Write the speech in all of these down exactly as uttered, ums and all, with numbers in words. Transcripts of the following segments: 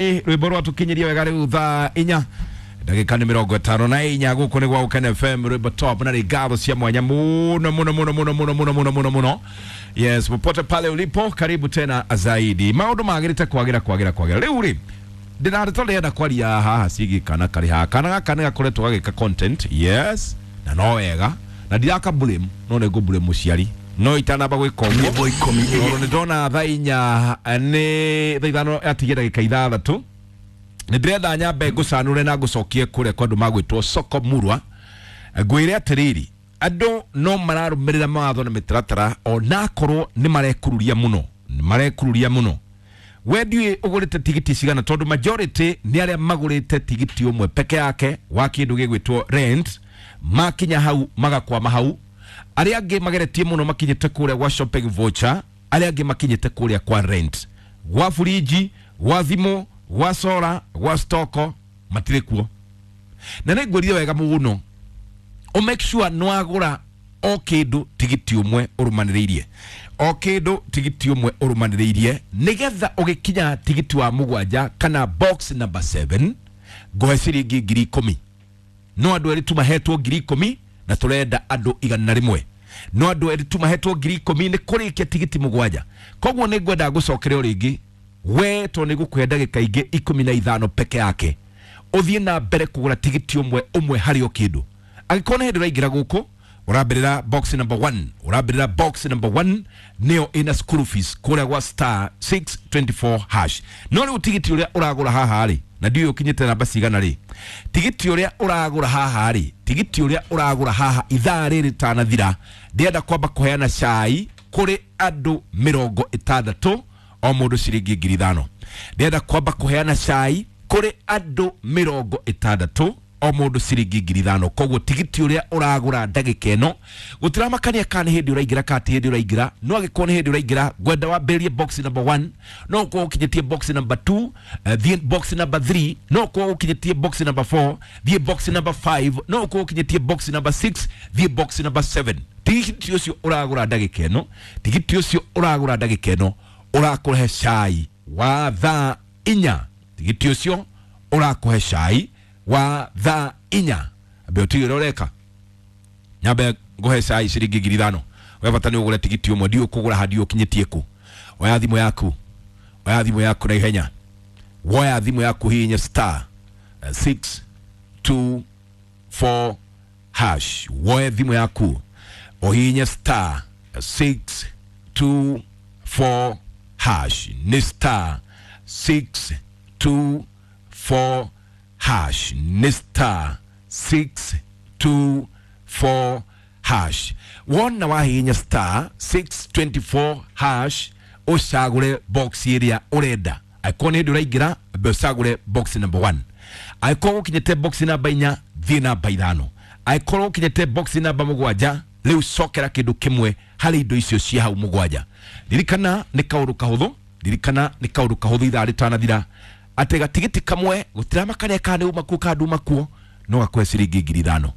Rwimbo rwatukinyiria wega riu thaa inya ndagika nĩ mĩrongo ĩtano na inya. Gũkũ nĩ gwa Gũkena F M, rwimbo top na nĩ cia mwanya muno muno muno muno muno muno muno muno muno. Yes, popote pale ulipo, karibu tena zaidi. Maũndũ magĩrĩte kwagĩra kwagĩra kwagĩra. Rĩu rĩ, ndĩrarĩ ndĩrenda kwaria haha ciĩgiĩ kana karĩ haha. Kana gaka nĩ gakoretwo gagĩka content, yes, na no wega na ndiraka blame, no nĩ ngũ blame mũciari no itanamba gwĩka ũguo. Nyĩmbo ikũmi. Tondũ nĩ ndona thaa inya nĩ thaa ithano atigie ndagĩka ithathatũ, nĩ ndĩrenda nyambe ngũcanũre na ngũcokie kũrĩa kwa andũ magwĩtwo Soko Murwa. Ngwĩre atĩrĩrĩ, andũ no mararũmĩrĩra mawatho na mĩtaratara onakorwo nĩ marekururia mũno, nĩ marekururia mũno. We ndiũĩ ũgũrĩte tigiti cigana, tondũ majority nĩ arĩa magũrĩte tigiti ũmwe peke yake wa kĩndũ gĩgwĩtwo rent, makinya hau magakwama hau. Arĩa angĩ mageretie mũno makinyĩte kũrĩa gwa shopping voucher, arĩa angĩ makinyĩte kũrĩa kwa rent, gwa fridge, gwa thimũ, gwa solar, gwa stoko, matirĩ kuo. Na nĩ ngwĩrire wega mũno o make sure nĩ wagũra o kĩndũ tigiti ũmwe ũrũmanĩrĩirie, o kĩndũ tigiti ũmwe ũrũmanĩrĩirie, nĩgetha ũgĩkinya tigiti wa mũgwanja kana box number seven ngũhe ciringi ngiri ikũmi. No andũ erĩ tu mahetwo ngiri ikũmi na tũrenda andũ igana rĩmwe. No andũ erĩ tu mahetwo ngiri ikũmi nĩ kũrĩkia tigiti mũgwanja. Koguo nĩ ngwenda ngũcokere o rĩngĩ we, tondũ nĩ ngũkũhe ndagĩka ingĩ ikũmi na ithano peke yake ũthiĩ na mbere kũgũra tigiti ũmwe ũmwe harĩ o kĩndũ. Angĩkorwo nĩ hĩndĩ ũraingĩra gũkũ, ũrambĩrĩra box number one, ũrambĩrĩra box number one, nĩyo ĩna school fees kũrĩa gwa star six two four hash. No rĩu tigiti ũrĩa ũragũra haha rĩ, na ndiũĩ ũkinyĩte namba cigana rĩ, tigiti ũrĩa ũragũra haha rĩ, tigiti ũrĩa ũragũra haha ithaa rĩrĩ rĩtanathira, ndĩrenda kwamba kũheana cai kũrĩ andũ mĩrongo ĩtandatũ, o mũndũ ciringi ngiri ithano. Ndĩrenda kwamba kũheana cai kũrĩ andũ mĩrongo ĩtandatũ, o mũndũ ciringi ngiri ithano. Koguo tigiti ũrĩa ũragũra ndagĩka ĩno, gũtiramakania kana nĩ hĩndĩ ũraingĩra kana ti hĩndĩ ũraingĩra, no angĩkorwo nĩ hĩndĩ ũraingĩra, ngwenda wambĩrĩrie box number one. No ũkorwo ũkinyĩtie box number two, uh, thiĩ box number three. No ũkorwo ũkinyĩtie box number four, thiĩ box number five. No ũkorwo ũkinyĩtie box number six, thiĩ box number seven. Tigiti ũcio ũragũra ndagĩka ĩno, tigiti ũcio ũragũra ndagĩka ĩno ũrakũhe cai wa thaa inya. Tigiti ũcio ũrakũhe cai wa thaa inya. Ambe ũtige ũrĩa ũreka, nyambe ngũhe cai ciringi ngiri ithano. We bata nĩ ũgũre tigiti ũmwe. Ndiũĩ kũgũra ha, ndiũĩ ũkinyĩtie kũ. Oya thimũ yaku, oya thimũ yaku na ihenya, woya thimũ yaku, hihinya star six two four hash. Woe thimũ yaku ũhihinye star six two four hash. Nĩ star six two four hash, nĩ star six two four hash. Wona wahihinya star six two four hash, ũcagũre box ĩrĩa ũrenda. Angĩkorwo nĩ hĩndĩ ũraingĩra, ambe ũcagũre box number one. Angĩkorwo ũkinyĩte box namba inya, thiĩ namba ithano. Angĩkorwo ũkinyĩte box namba mũgwanja, rĩu cokera kĩndũ kĩmwe harĩ indo icio cia hau mũgwanja. Ririkana nĩ kaũndũ kahũthũ, ririkana nĩ kaũndũ kahũthũ ithaa rĩtanathira, atĩ gatigiti kamwe gũtiramakania kana nĩ uma kuo kana nduma kuo, no gakũhe ciringi ngiri ithano.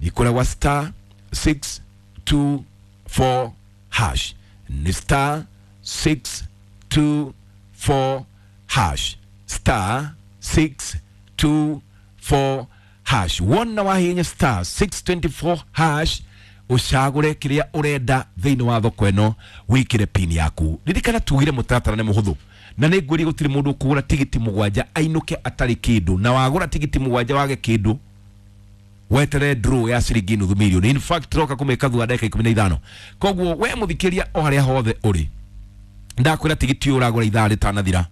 Ikũrĩa gwa star six two four hash, nĩ star six two four hash, star six two four hash. Wona wahihinya star six two four hash, ũcagũre kĩrĩa ũrenda thĩinĩ wa thoko ĩno, wĩkĩre pin yaku. Ririkana tugire mũtaratara nĩ mũhũthũ, na nĩ ngwĩrie gũtirĩ mũndũ ũkũgũra tigiti mũgwanja ainũke atarĩ kĩndũ. Na wagũra tigiti mũgwanja wage kĩndũ, wetere draw ya ciringi nuthu milioni. In fact, roka kũmĩka thutha ndagĩka ikũmi na ithano. Koguo we mũthikĩria, o harĩa hothe ũrĩ, ndakwĩra tigiti ũyũ ũragũra ithaa rĩtanathira,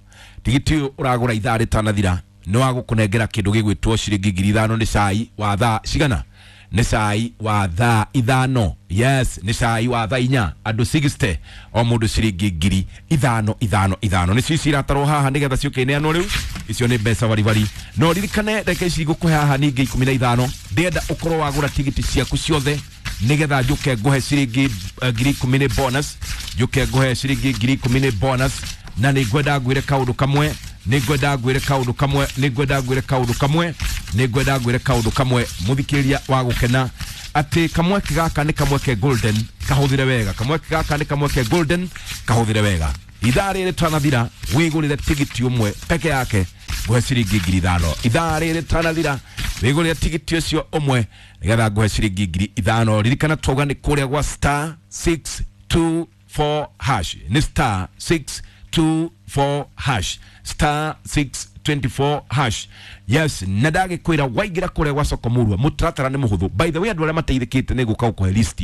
tigiti ũyũ ũragũra ithaa rĩtanathira nĩ wa gũkũnengera kĩndũ gĩgwĩtwo ciringi ngiri ithano. Nĩ cai wa thaa cigana? Nĩ cai wa thaa ithano. Yes, nĩ cai wa thaa inya, andũ sixty, o mũndũ ciringi ngiri ithano ithano ithano. Nĩ cio iratarwo haha nĩgetha ciũke ineanwo. Rĩu icio nĩ mbeca baribari. No ririkane ndagĩka ici ngũkũhe haha ningĩ ikũmi na ithano, ndĩrenda ũkorwo wagũra tigiti ciaku ciothe nĩgetha njũke ngũhe ciringi eh, ngiri ikũmi nĩ bonus, njũke ngũhe ciringi ngiri ikũmi nĩ bonus. Na nĩ ngwenda ngwĩre kaũndũ kamwe, nĩ ngwenda ngwĩre kaũndũ kamwe, nĩ ngwenda ngwĩre kaũndũ kamwe, nĩ ngwenda ngwĩre kaũndũ kamwe, mũthikĩrĩria wa gũkena, atĩ kamweke gaka nĩ kamweke golden, kahũthĩre wega. Kamweke gaka nĩ kamweke golden, kahũthĩre wega. Ithaa rĩrĩ twanathira, wĩgũrĩre tigiti ũmwe peke yake. Nguhe ciringi ngiri ithano. Ithaa rĩrĩ tanathira wĩgũrĩre tigiti ũcio ũmwe nĩgetha nguhe ciringi ngiri ithano. Ririkana twauga nĩ kũrĩa gwa star six two four hash. Nĩ star six two four hash. Star six twenty-four hash. Yes, na ndagĩkwĩra waingĩra kũrĩa gwa soko murwa mũtaratara nĩ mũhũthũ. By the way, andũ arĩa mateithĩkĩte nĩ gũka gũkũhe list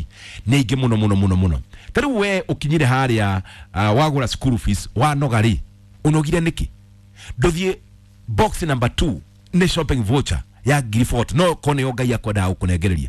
nĩ aingĩ mũno mũno mũno mũno. Ta rĩu we ũkinyire harĩa uh, wagũra school fees wanoga rĩ, ũnogire nĩkĩ? Ndũthiĩ box number two nĩ shopping voucher ya ngiri forty, no ko nĩyo Ngai akwendaga gũkũnengereria.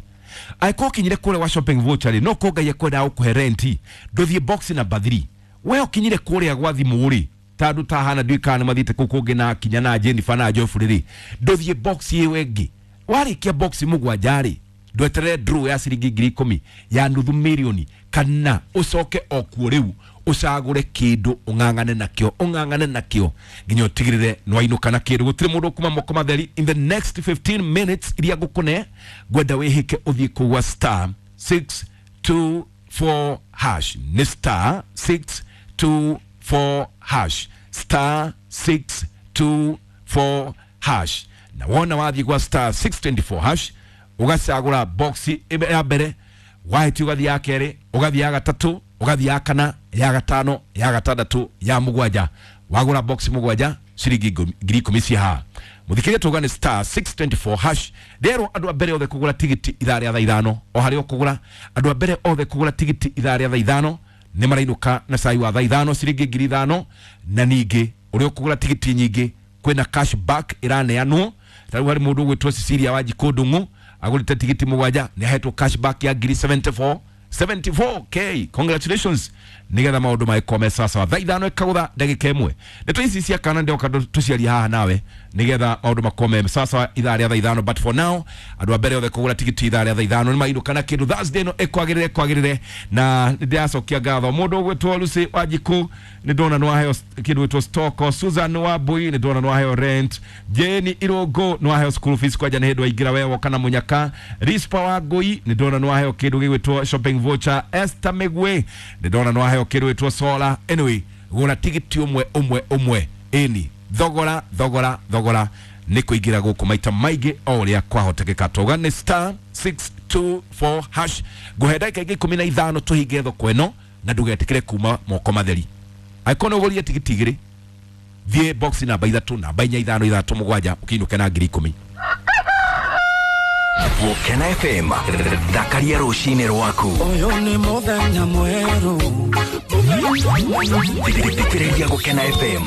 Angĩkorwo ũkinyire kũrĩa gwa shopping voucher rĩ, no ko Ngai akwendaga gũkũhe rent, ndũthiĩ box number three. We ũkinyire kũrĩa gwa thimũ rĩ, ta andũ ta hana ndiũĩ kana nĩ mathiĩte kũu kũngĩ na kinya na Jennifer na Geoffrey rĩ, ndũthiĩ box ĩyo ĩngĩ. Warĩkia box mũgwanja rĩ, ndweterere draw ya ciringi ngiri ikũmi ya nuthu mirioni, kana ũcoke o kuo rĩu ũcagũre kĩndũ ũng'ang'ane nakĩo, ũng'ang'ane nakĩo nginya ũtigĩrĩre nĩwainũka na kĩndũ. Gũtirĩ mũndũ ũkuma moko matheri. In the next fifteen minutes iria ngũkũne, ngwenda wĩhĩke ũthiĩ kũu gwa star six two four hash. Nĩ star six two four hash. Star six two four hash. Na wona wathiĩ gwa star six twenty-four hash, ũgacagũra box ya mbere, wahĩtia ũgathiĩ ya kerĩ, ũgathiĩ ya gatatũ, ũgathiĩ ya kana, ya gatano, ya gatandatũ, ya mũgwanja. Wagũra box mũgwanja ciringi ngiri ikũmi ci haha. Mũthikĩrĩria tuga nĩ star six twenty-four hash. Rĩerwo andũ a mbere othe kũgũra tigiti ithaa rĩa thaa ithano, o harĩa ũkũgũra, andũ a mbere othe kũgũra tigiti ithaa rĩa thaa ithano nĩ marainũka na cai wa thaa ithano ciringi ngiri ithano. Na ningĩ ũrĩa ũkũgũra tigiti nyingĩ kwĩna cash back ĩraneanwo. Ta rĩu harĩ mũndũ ũgwĩtwo Cecilia Wanjikũ Ndung'u agũrĩte tigiti mũgwanja nĩ ahetwo cash back ya ngiri seventy-four, seventy-four K. Congratulations. Nigetha maũndũ magĩkorwo me sawa. Thaa ithano ĩkagũtha ndagĩka ĩmwe. Ndeto ici cia kana ndĩroka tũciarie haha nawe nigetha maũndũ makorwo me sawa ithaa rĩa thaa ithano. But for now, andũ a mbere othe kũgũra tigiti ithaa rĩa thaa ithano nĩ mainũka na kĩndũ. Thursday ĩno ĩkwagĩrĩre, ĩkwagĩrĩre. Na nĩ ndĩracokia ngatho mũndũ ũgwĩtwo Lucy Wanjikũ, nĩ ndona nĩ waheo kĩndũ gwĩtwo stock. Susan Wambui nĩ ndona nĩ waheo rent. Jane Irũngũ nĩ waheo school fees kwanja nĩ hĩndĩ waingĩra we woka na mũnyaka. Rispa Wangui nĩ ndona nĩ waheo kĩndũ gĩgwĩtwo shopping voucher. Esther Migwe nĩ ndona nĩ waheo kĩndũ gwĩtwo solar. Anyway, gũra tigiti ũmwe ũmwe ũmwe. Ĩni thogora thogora thogora nĩ kũingĩra gũkũ maita maingĩ o ũrĩa kwahotekeka. Tauga nĩ star six two four hash. Ngũhe ndagĩka ingĩ ikũmi na ithano tũhinge thoko ĩno na ndũgetĩkĩre kuma moko matheri. Angĩkorwo nĩ ũgũrire tigiti igĩrĩ, thiĩ box namba ithatũ, namba inya, ithano, ithatũ, mũgwanja, ũkĩinũke na ngiri ikũmi. Gũkena F M, thakaria rũcinĩ rwaku. Ũyũ nĩ mũthenya mwerũ. Thikĩrĩria Gũkena F M.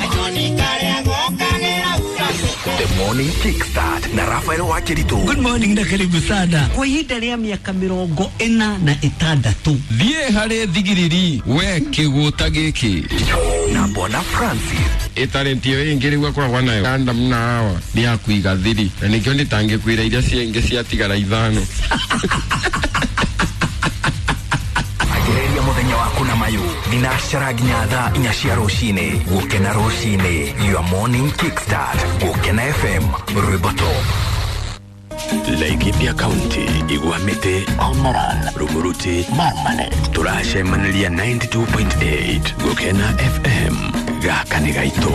The Morning Kickstart na Rafael Wakiritu. Good morning na karibu sana. Kwa ihinda rĩa mĩaka mĩrongo ĩna na ĩtandatũ. Thiĩ harĩ thigiriri we kĩgũta gĩkĩ. Na Bwana Francis. Ĩtalenti ĩyo ĩngĩ rĩu akoragwo nayo Adam na Hawa nĩ ya kũiga thiri, na nĩkĩo ndĩtangĩkwĩra iria ciengĩ ciatigara ithano. Anjĩrĩria mũthenya waku na mayũ thinacara nginya thaa inya cia rũcinĩ. Gũkena rũcinĩ, your morning kickstart. Gũkena F M, rwĩmbo top. Laikipia County, Igwamite, Olmoran, Rumuruti, Marmanet. Turacemaniria ninety-two point eight Gũkena F M. Gaka nĩ gaitũ.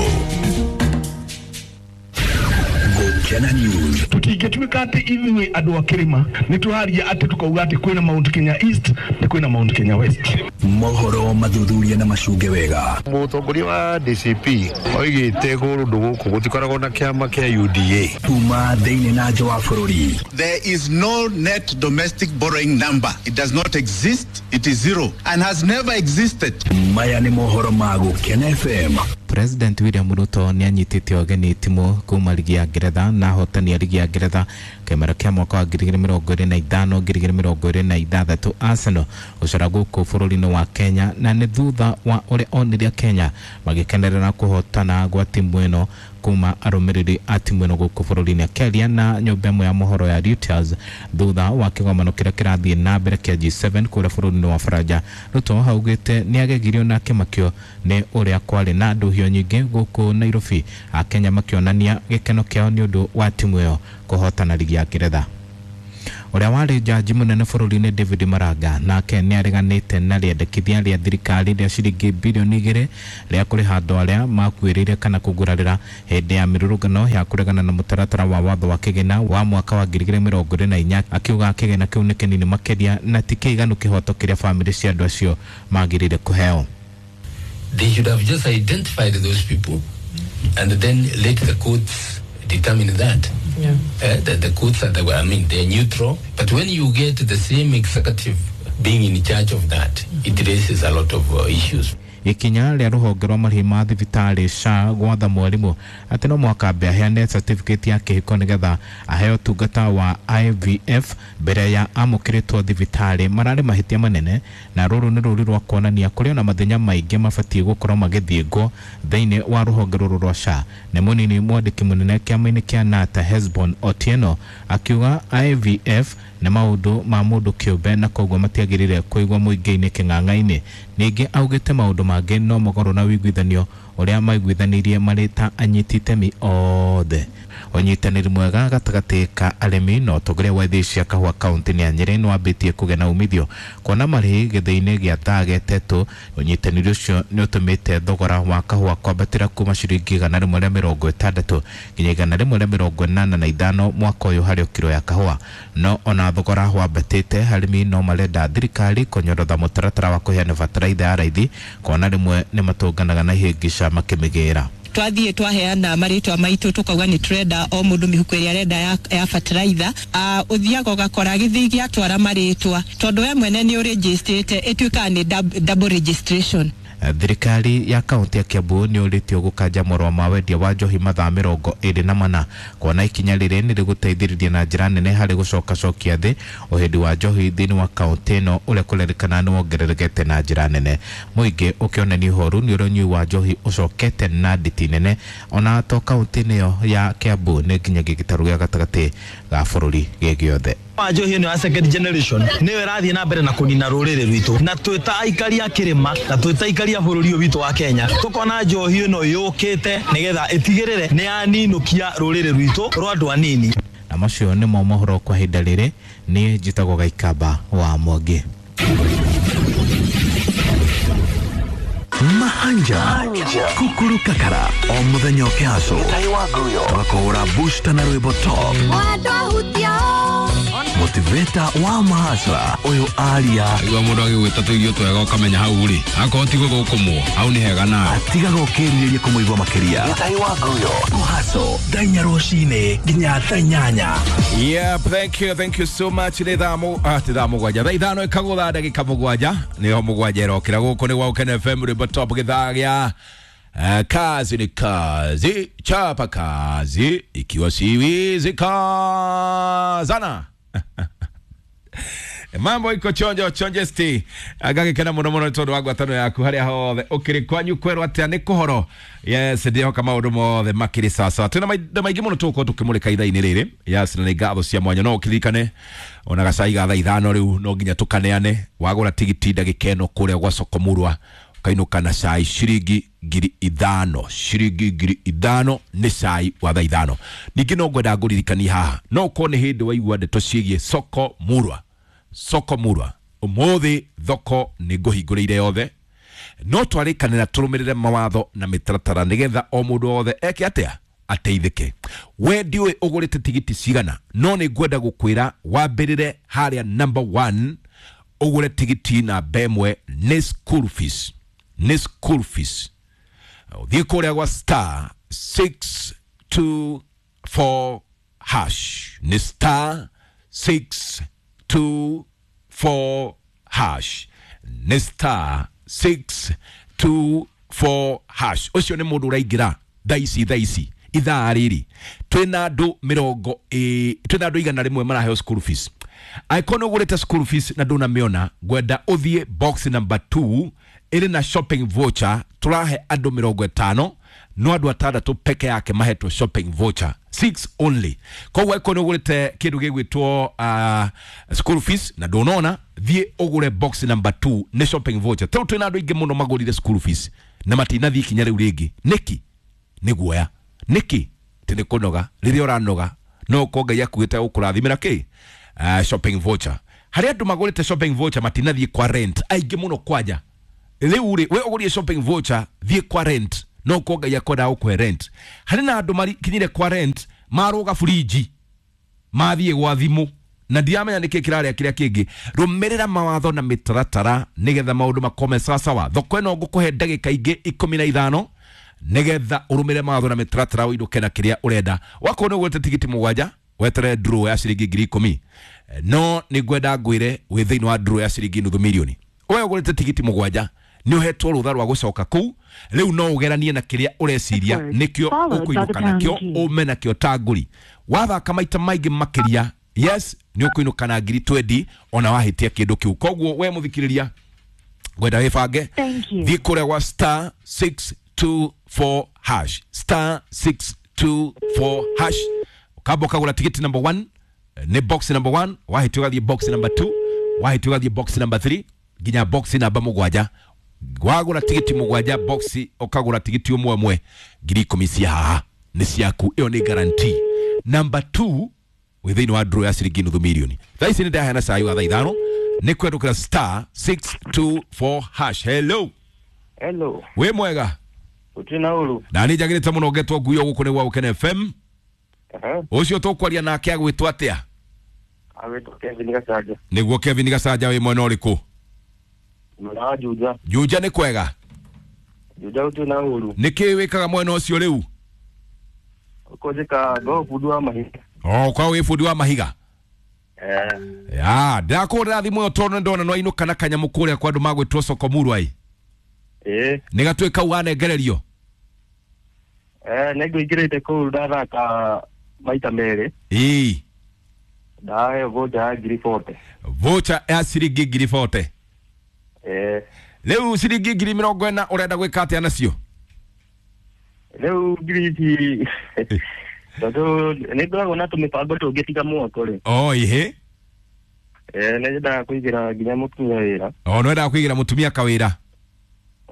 Gũkena News. Tutingĩtuĩka atĩ ithuĩ andũ a kĩrĩma nĩ tũraria atĩ tũkauga atĩ kwĩna Mount Kenya East na kwĩna Mount Kenya West. Mohoro mathuthuria na macunge wega. Mũtongoria wa D C P oigĩte kũndũ gũkũ gũtikoragwo na kĩama kĩa U D A. Kuma thĩinĩ na nja wa bũrũri. There is no net domestic borrowing number. It does not exist. It is zero and has never existed. Maya nĩ mohoro ma Gũkena F M. President William Ruto nĩ anyitĩte ũgeni timu kuma ligi ya Ngeretha na ahotani a ligi ya Ngeretha kĩmera kĩa mwaka wa ngiri igĩrĩ mĩrongo ĩrĩ na ithano ngiri igĩrĩ mĩrongo ĩrĩ na ithathatũ Arsenal gũcora gũkũ bũrũri-inĩ wa Kenya, na nĩ thutha wa ũrĩa onire Kenya magĩkenerera kũhotana gwa timu ĩno kuma arũmĩrĩri a timu ĩno gũkũ bũrũri-inĩ. Akĩaria na nyũmba ĩmwe ya mohoro ya Reuters thutha wa kĩgomano kĩrĩa kĩrathiĩ na mbere kĩa G seven kũrĩa bũrũri-inĩ wa Faranja, Ruto augĩte nĩ agegirio na akĩmakio nĩ ũrĩa kwarĩ na ndũhio nyingĩ gũkũ Nairobi, Akenya makĩonania gĩkeno kĩao nĩ ũndũ wa timu ĩyo kũhotana ligi ya Ngeretha. Ũrĩa warĩ jaji mũnene bũrũri-inĩ David Maraga nake nĩareganĩte na rĩendekithia rĩa thirikari rĩa ciringi bilioni igĩrĩ rĩa kũrĩha andũ arĩa makuĩrĩire kana kũgurarĩra hĩndĩ ya mĩrũrũngano ya kũregana na mũtaratara wa watho wa kĩgĩna wa mwaka wa ngiri igĩrĩ mĩrongo ĩrĩ na inya, akiuga kĩgĩna kĩu nĩ kĩnini makĩria na ti kĩiganu kĩhoto kĩrĩa bamĩrĩ cia andũ acio magĩrĩire kũheo. They should have just identified those people and then let the courts determine that. Yeah. Uh, the, the courts are the, I mean, they're neutral. But when you get the same executive being in charge of that, mm-hmm. it raises a lot of uh, issues. Ikinya rĩa rũhonge rwa marĩhi ma thibitarĩ S H A gwatha mwarimũ atĩ no mũhaka ambe aheane certificate ya kĩhiko nĩgetha aheo ũtungata wa I V F mbere ya amũkĩrĩtwo thibitarĩ mararĩ mahĩtia manene, na rũrũ nĩ rũri rwa kuonania kũrĩ na mathĩna maingĩ mabatiĩ gũkorwo magĩthĩngwo thĩinĩ wa rũhonge rũrũ rwa S H A. Nĩ mũnini mwandĩki mũnene kĩama-inĩ kĩa Nata Hesbon Otieno akiuga I V F nĩ maũndũ ma mũndũ kĩũmbe na koguo matiagĩrĩire kũigwo mũingĩ-inĩ kĩng'ang'a-inĩ. Ningĩ augĩte maũndũ mangĩ no mũgarũ na ũiguithanio ũrĩa maiguithanirie marĩ ta anyiti itemi othe. Ũnyitanĩri mwega gatagatĩ ka arĩmi na ũtongoria wa ithĩi cia kahũa kaũntĩ-inĩ ya Nyĩrĩ nĩwambĩtie kũgĩa na umithio kuona marĩhi gĩthĩi-inĩ gĩa Thage Tetũ. Ũnyitanĩri ũcio nĩ ũtũmĩte thogora wa kahũa kwambatĩra kuma ciringi igana rĩmwe rĩa mĩrongo ĩtandatũ nginya igana rĩmwe rĩa mĩrongo ĩnana na ithano mwaka ũyũ harĩ kiro ya kahũa. No ona thogora wambatĩte, arĩmi no marenda thirikari kũnyorotha mũtaratara wa kũheana bataraitha ya raithi kuona rĩmwe nĩ matũnganaga na ihĩngĩca makĩmĩgĩra. Twathiĩ twaheana marĩtwa maitũ tukauga nĩ turenda o mũndũ mĩhuko ĩrĩa arenda ya, ya fertilizer. Uh, ũthiaga ũgakora gĩthii gĩatwara marĩtwa tondũ we mwene nĩ ũrĩnjĩstĩte, ĩtuĩkaga nĩ double registration. Thirikari ya kaunti ya Kiambu nĩ ũrĩtio gũkanja marũa ma wendia wa njohi mathaa mĩrongo ĩrĩ na mana kuona ikinya rĩrĩ nĩ rĩgũteithĩrĩria na njĩra nene harĩ gũcokacokia thĩ ũhĩndi wa njohi thĩinĩ wa kaunti ĩno ũrĩa kũrerĩkana nĩ wongererekete na njĩra nene. Mũingĩ ũkĩonania ũhoru nĩ ũrĩa ũnyui wa njohi ũcokete na nditi nene ona to kaunti-inĩ ĩyo ya Kiambu nĩ nginyagia gĩtarũ gĩa gatagatĩ ga bũrũri gĩ gĩothe. Wa njohi ĩno ya second generation nĩyo ĩrathiĩ na mbere na kũnina rũrĩrĩ rwitũ, na twĩ ta aikari a kĩrĩma na twĩ ta aikari a bũrũri ũyũ witũ wa Kenya tũkona njohi ĩno yũkĩte nĩgetha ĩtigĩrĩre nĩ yaninũkia rũrĩrĩ rwitũ rwa andũ anini. Na macio nĩmo mohoro kwa ihinda rĩrĩ. Niĩ njĩtagwo Gaikamba wa Mwangi. Mahanja Kukuru Kakara o muthenya ũkĩhaco tũgakũhũra booster na rwĩmbo top motivator wa mahasra ũyũ aria igua mũndũ agĩgwĩta tũirio twega ũkamenya hau rĩ akorwo ti gũthũkũmwo hau nĩ hega nawe atigaga ũkĩrirĩria kũmũigua makĩria. Gĩtai wa Nguyo kũhaco thaa inya rũcinĩ nginya thaa inyanya. Yep, thank you, thank you so much. Nĩ thaa mũ ah, ti thaa mũgwanja, thaa ithano ĩkagũtha ndagĩka mũgwanja nĩho mũgwanja ĩrokĩra. Gũkũ nĩ gwa Ũkene F M rwĩmbo top gĩthaa gĩa Uh, kazi ni kazi, chapa kazi, ikiwa siwizi kazana. Mambo iko chonjo chonjesti agagikena muno muno tondu wa ngwatano yaku haria hothe ukiri kwanyu kwerwo atia ni kuhoro. Yes, ndihoka maundu mothe makiri sawa. Twina mainda maingi muno tugukorwo tukimurika ithaa-inĩ rĩrĩ. Yes, na nĩ ngatho cia mwanya no ũkĩririkane ona gacai ga thaa ithano rĩu no nginya tũkaneane. Wagũra tigiti ndagĩka ĩno kũrĩa gwa Soko Murwa ũkainũka na cai ciringi ngiri ithano, ciringi ngiri ithano nĩ cai wa thaa ithano. Ningĩ no ngwenda ngũririkanie haha no ũkorwo nĩ hĩndĩ waigua ndeto ciĩgiĩ Soko Murwa. Soko Murwa ũmũthĩ thoko nĩ ngũhingũrĩire yothe, no twarĩkanĩra tũrũmĩrĩre mawatho na mĩtaratara nĩgetha o mũndũ wothe eke atĩa ateithĩke. We ndiũĩ ũgũrĩte tigiti cigana, no nĩ ngwenda gũkwĩra wambĩrĩre harĩa number one ũgũre tigiti namba ĩmwe nĩ school fees, nĩ school fees. Ũthiĩ kũrĩa gwa star six two four hash, nĩ star six two four hash, nĩ star six two four hash. Ũcio nĩ mũndũ ũraingĩra thaa ici thaa ici ithaa rĩrĩ twĩna andũ mĩrongo ĩ twĩna andũ igana rĩmwe maraheo school fees. Angĩkorwo nĩ ũgũrĩte school fees na ndũnamĩona, ngwenda ũthiĩ box number two ĩrĩ na shopping voucher. Tũrahe andũ mĩrongo ĩtano no andũ atandatũ peke yake mahetwo shopping voucher six only. Koguo angĩkorwo nĩ ũgũrĩte kĩndũ gĩgwĩtwo uh, school fees na ndũnona, thiĩ ũgũre box number two nĩ shopping voucher. Tondũ twĩna andũ aingĩ mũno magũrire school fees na matinathiĩ ikinya rĩu rĩngĩ. Nĩkĩ? Nĩ guoya. Nĩkĩ? Tĩ nĩ kũnoga. Rĩrĩa ũranoga no ũkorwo Ngai akuĩte gũkũrathimĩra kĩ uh, shopping voucher. Harĩ andũ magũrĩte shopping voucher matinathiĩ kwa rent aingĩ mũno kwanja. Rĩu rĩ we ũgũrie shopping voucher thiĩ kwa rent no ko Ngai akwenda gũkũhe rent. Harĩ na andũ makinyire kwa rent marũga fridge mathiĩ gwa thimũ na ndiramenya nĩkĩ kĩrarĩa kĩrĩa kĩngĩ. Rũmĩrĩra mawatho na mĩtaratara nĩgetha maũndũ makome sawasawa. Thoko ĩno ngũkũhe ndagĩka ingĩ ikũmi na ithano nĩgetha ũrũmĩrĩre mawatho na mĩtaratara ũinũke na kĩrĩa ũrenda. Wakorwo nĩ ũgũrĩte tigiti mũgwanja weterere draw ya ciringi ngiri ikũmi, no nĩ ngwenda ngwĩre wĩ thĩinĩ wa draw ya ciringi nuthu milioni. We ũgũrĩte tigiti mũgwanja nĩ ũhetwo rũtha rwa gũcoka kũu, rĩu no ũgeranie na kĩrĩa ũreciria nĩkĩo ũkũinũka nakĩo ũme nakĩo ta ngũri. Wathaka maita maingĩ makĩria, yes, nĩ ũkũinũka na ngiri twendi ona wahĩtia kĩndũ kĩu. Koguo we mũthikĩrĩria ngwenda wĩbange, thiĩ kũrĩa gwa star six two four hash, star six two four hash, ukamba ũkagũra tigiti number one, nĩ box number one, wahĩtia ũgathiĩ box number two, wahĩtia ũgathiĩ box number three nginya box namba mũgwanja. Wagũra tigiti mũgwanja box ũkagũra tigiti ũmwe ũmwe ngiri ikũmi cia haha nĩ ciaku, ĩyo nĩ guarantee. Number two wĩ thĩinĩ wa draw ya ciringi nuthu milioni. Thaa ici nĩ ndaheana cai wa thaa ithano nĩ kwendũkĩra star six two four hash. Hello. Hello. Wĩ mwega? Gũtirĩ na ũru. Na nĩ njagĩrĩte mũno ngetwo nguo gũkũ nĩ gwa Gũkena F M. Ũcio tũkwaria nake agwĩtwo atĩa? Agwĩtwo Kevin Gacanja. Nĩguo Kevin Gacanja wĩ mwena ũrĩkũ? Mwena wa Juja. Juja nĩ kwega? Juja gũtirĩ na ũru. Nĩ kĩĩ wĩkaga mwena ũcio rĩu? Ũkũnjĩka ngo bundi wa mahiga. Oh, kwa wĩ bundi wa mahiga? Eh. Ya, ndakũhũrĩra thimũ ĩyo tondũ nĩndona nĩwainũka na kanyamũ kũrĩa kwa andũ magwĩtwo Soko Murwa ĩ. Eh. Nĩ gatuĩka kau wanengererio? Eh, nĩngũingĩrĩte kũu ndathaka maita merĩ. Ĩĩ. Ndaheo voucher ya ngiri forty. Voucher ya ciringi ngiri forty. Eh. Rĩu ciringi ngiri mĩrongo ĩna ũrenda gwĩka atĩa nacio? Rĩu ngiri ici tondũ nĩ ngoragwo na tũmĩbango tũngĩ tiga mwako rĩ. Oh, ihe. Eh, nĩ nyendaga kũigĩra nginya mũtumia wĩra. Oh, nĩ wendaga kũigĩra mũtumia kawĩra?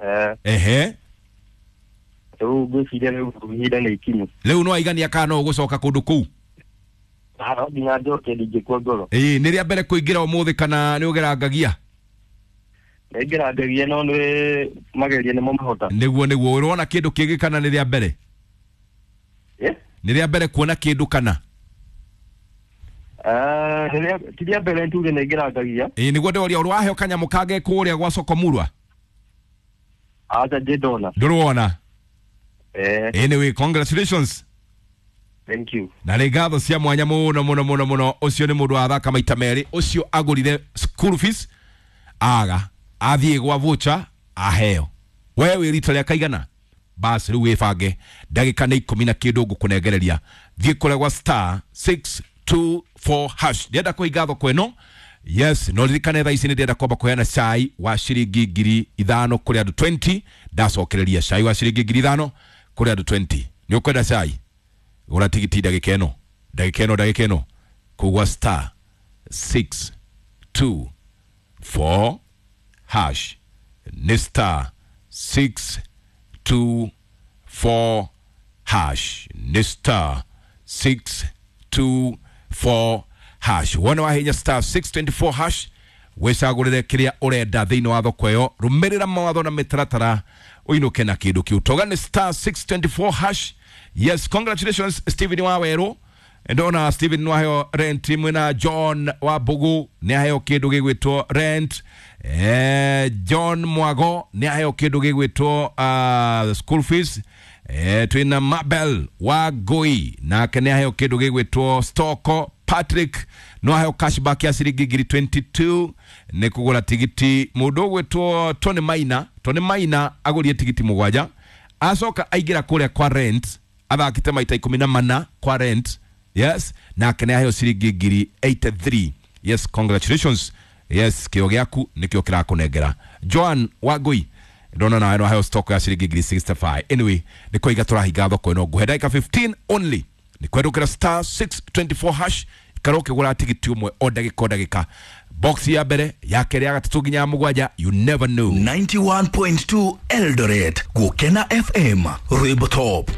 Eh. Ehe. Rĩu ngwĩciria rĩu ihinda nĩ ikinyu. Rĩu no waigania kana no ũgũcoka kũndũ kũu? No nginya njoke ndingĩkua ngoro. Ĩĩ, nĩ rĩa mbere kũingĩra ũmũthĩ kana nĩ ũgerangagia? Nĩngerangagia no nĩ mageria nĩmo mahota. Nĩguo nĩguo, ũrona kĩndũ kĩngĩ kana nĩ rĩa mbere? Eh? Nĩ rĩa mbere kuona kĩndũ kana? Ah, ti rĩa mbere tuge nĩngerangagia. Ĩĩ, nĩguo ndĩroria ũrĩ waheo kanyamũ kangĩ kũrĩa gwa Soko Murwa? Acha ndĩ ndona. Ndũrĩ Eh. Anyway, congratulations. Thank you. Na nĩ ngatho cia mwanya mũno mũno mũno mũno. Ũcio nĩ mũndũ wathaka maita merĩ, ũcio agũrire school fees aga athiĩ gwa voucher aheo. We wĩ rita rĩa kaigana? Bas rĩu wĩbange ndagĩka nĩ ikũmi na kĩndũ ngũkũnengereria. Thiĩ kũrĩa gwa star six two four hash. Ndĩrenda kũhinga thoko ĩno. Yes, no ririkane thaa ici nĩ ndĩrenda kwamba kũheana cai wa ciringi ngiri ithano kũrĩ andũ twenty. Ndacokereria cai wa ciringi ngiri ithano kũrĩ andũ twenty. Nĩ ũkwenda cai? Gũra tigiti ndagĩka ĩno, ndagĩka ĩno, ndagĩka ĩno kũu gwa star six two four hash. Nĩ star six two four hash. Nĩ star six two four hash. Wona wahinya star six twenty four hash wĩcagũrĩre kĩrĩa ũrenda thĩinĩ wa thoko ĩyo. Rũmĩrĩra mawatho na mĩtaratara ũinũke na kĩndũ kĩu. Toga nĩ star six twenty four hash. Yes, congratulations Stephen wa Werũ. Ndona Stephen nĩwaheo rent mwena John wa Mbugu nĩaheo kĩndũ gĩgwĩtwo rent. Eh, John Mwago nĩaheo kĩndũ gĩgwĩtwo uh, school fees. Eh, twina Mabel wa Ngui nake nĩaheo kĩndũ gĩgwĩtwo stoko. Patrick no aheo cashback ya ciringi ngiri twenty two nĩ kũgũra tigiti. Mũndũ ũgwĩtwo Tony Maina, Tony Maina agũrire tigiti mũgwanja acoka aingĩra kũrĩa kwa rent athakĩte maita ikũmi na mana kwa rent. Yes, nake nĩ aheo ciringi ngiri eighty three. Yes, congratulations. Yes, kĩo gĩaku nĩkĩo kĩrakũnengera. Joan Wangui ndona nawe no aheo stock ya ciringi ngiri sixty five. Anyway, nĩ kũiga tũrahinga thoko ĩno ngũhe ndagĩka fifteen only. Nĩ kwendũkĩra star six twenty four hash ikara ũkĩgũra tigiti ũmwe o ndagĩka o ndagĩka. Box ya mbere ya kerĩ ya gatatũ nginya ya mũgwanja, you never know. ninety one point two Eldoret, Gũkena F M, Rwĩmbo Top.